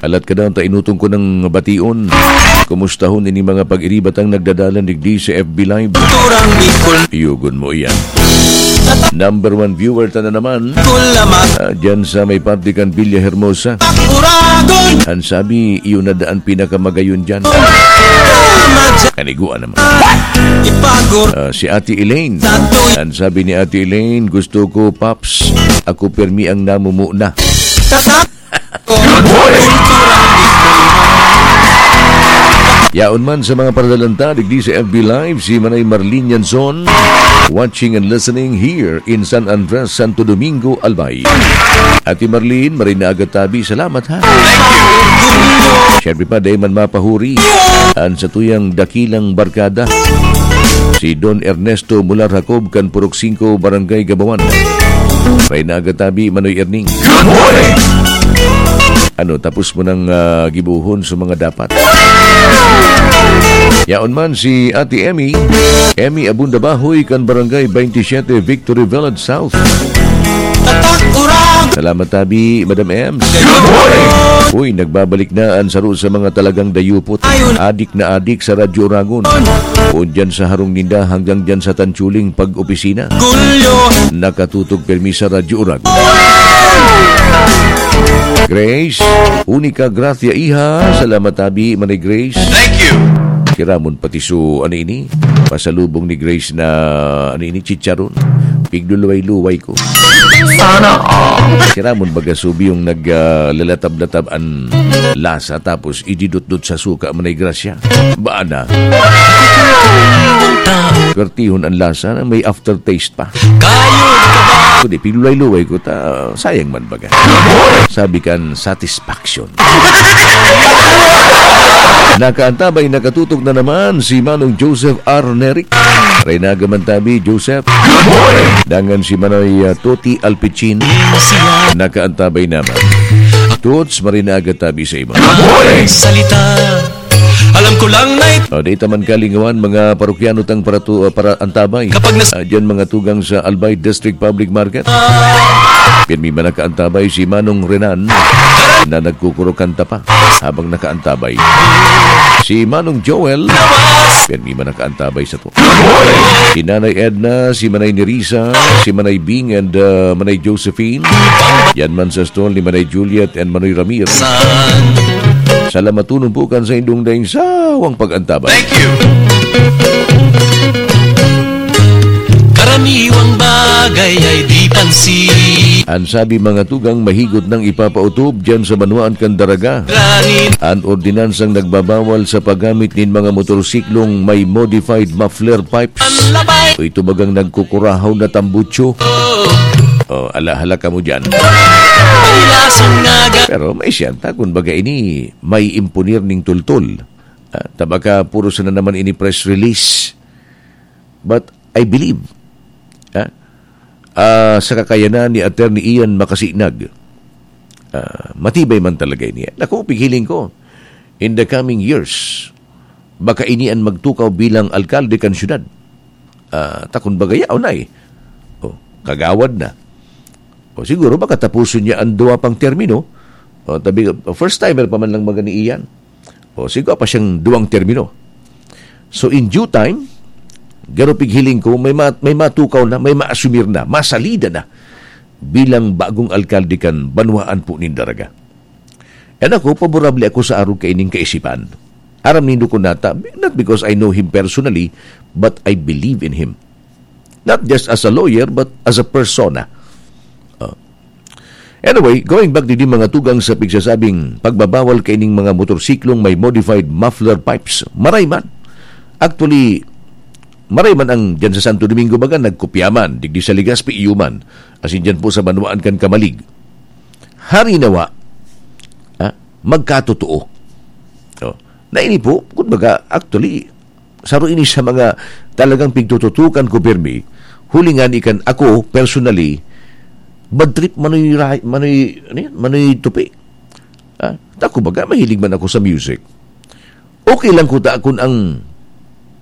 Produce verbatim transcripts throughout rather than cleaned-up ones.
Alat ka daw, ta inutong ko ng bation. Kumustahon ini mga pag-iribatang nagdadalan digdi sa F B Live. Turang Bicol. Yugon mo iyan. Number one viewer ta na naman. Kulamat. Ah, dyan sa may parte kan Villa Hermosa. Uragon. Ang sabi, iyon na daan pinakamagayon dyan. Kulamat. Kaniguan naman. Ipagor. Ah, si Ate Elaine. Tatoy. Ang sabi ni Ate Elaine, "Gusto ko, Paps. Ako permi ang namumuna." Tatak. Good morning. Yaon man sa mga paradalanta, digdi sa F B Live, si Manay Marlene Yanson, watching and listening here in San Andres, Santo Domingo, Albay. Ate Marlene, maray na aga tabi, salamat ha. Siyempre pa, dahil man mapahuri, ang satuyang dakilang barkada, si Don Ernesto Mular Jacob, kan Purok singko, Barangay Gabawan. Maray na aga tabi, Manoy Erning. Good morning! Ano, tapos mo nang, ah, gibuhon sa mga dapat? Yaon man si Ate Emmy. Emmy Abunda Bahoy, kan Barangay twenty-seven, Victory Village South. Tatak urag. Salamat tabi, Madam Ems. Good morning! Uy, nagbabalik na ang saro sa mga talagang dayupot. Adik na adik sa Radyo Oragon. Kung dyan sa harong ninda hanggang dyan sa tanchuling pag-opisina. Gulyo. Nakatutok permi sa Radyo Oragon. Grace, Unica Gracia Iha. Salamat tabi, Manay Grace. Thank you. Kiramon pati su, ano ini? Pasalubong ni Grace na, ano ini, chicharon. Pigduluway-luway ko. Sana all. Kiramon baga subi yung nag, ah, lalatab-latab an lasa tapos ididot-dot sa suka, Manay Gracia. Baan na? Pertihon ang lasa na may aftertaste pa. Kayo ka ba? Kundi, pigluway-luway ko ta, sayang man baga. Sabi kan satisfaction. Nakaantabay, nakatutok na naman si Manong Joseph R. Neric. Renaga man tabi, Joseph. Dangan si Manoy, ah, Toti Alpichin. Nakaantabay naman. Toots, marinaga tabi sa imo. Salita. Alam ko lang na ito. O, di taman kalingawan, mga parokyano tang paratu-, ah, para antabay. Kapag nas- Ah, dyan mga tugang sa Albay District Public Market. Pirmi man nakaantabay si Manong Renan na nagkukurokanta pa habang nakaantabay. Si Manong Joel, pirmi man nakaantabay sa to. Si Nanay Edna, si Manay Nerissa, si Manay Bing, and, ah, Manay Josephine. Yan man sa stall ni Manay Juliet and Manoy Ramir. San? Salamaton po kan saindong daing sawang pag-antabay. Thank you. Karaniwang bagay ay di pansin. An sabi, mga tugang, mahigot nang ipapautob diyan sa banwaan kan Daraga. Ranin. An ordinansang nagbabawal sa paggamit nin mga motorsiklong may modified muffler pipes. An labay. O ito bagang nagkukurahaw na tambutso. Oh. Oh, ala-hala kamo diyan. Ay, lasang naga. Pero may siyanta, kun baga ini, may impunir ning tultol. Ah, ta baka puro sana naman ini press release. But I believe, ah, ah, sa kakayanan ni Attorney Ian Makasinag, ah, matibay man talaga ini. Naku, pighiling ko, in the coming years, baka ini an magtukaw bilang alkalde kan syudad. Ah, ta kun baga yaon na eh. Oh, kagawad na. O siguro, baka tapuson niya ang duwa pang termino. O, tabi, first timer pa man lang magani iyan. O, siguro pa siyang duwang termino. So, in due time, garo pighiling ko, may ma-, may matukaw na, may maasumir na, masalida na bilang bagong alkalde kan banwaan po nin Daraga. And ako, paborable ako sa arog kaining kaisipan. Aram nindo ko nata, not because I know him personally, but I believe in him. Not just as a lawyer, but as a persona. Oh. Anyway, going back digdi mga tugang sa pigsasabing pagbabawal kaining mga motorsiklong may modified muffler pipes, maray man. Actually, maray man ang diyan sa Santo Domingo baga, nagkopya man, digdi sa Legazpi, iyo man. Asin diyan po sa banwaan kan Camalig. Hari nawa, ah, magkatotoo. Oh. Na ini po, kumbaga, actually, saro ini sa mga talagang pigtututukan ko pirmi, huli nga ni kan ako, personally, bad trip manoy ra-, manoy, ano yan? Manoy tupi. Ah, ta, kumbaga, mahilig man ako sa music. Okay lang kuta kun ang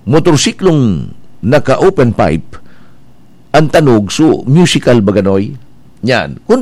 motorsiklong naka-open pipe, ang tanog, so, musical ba ganoy? Yan. Kun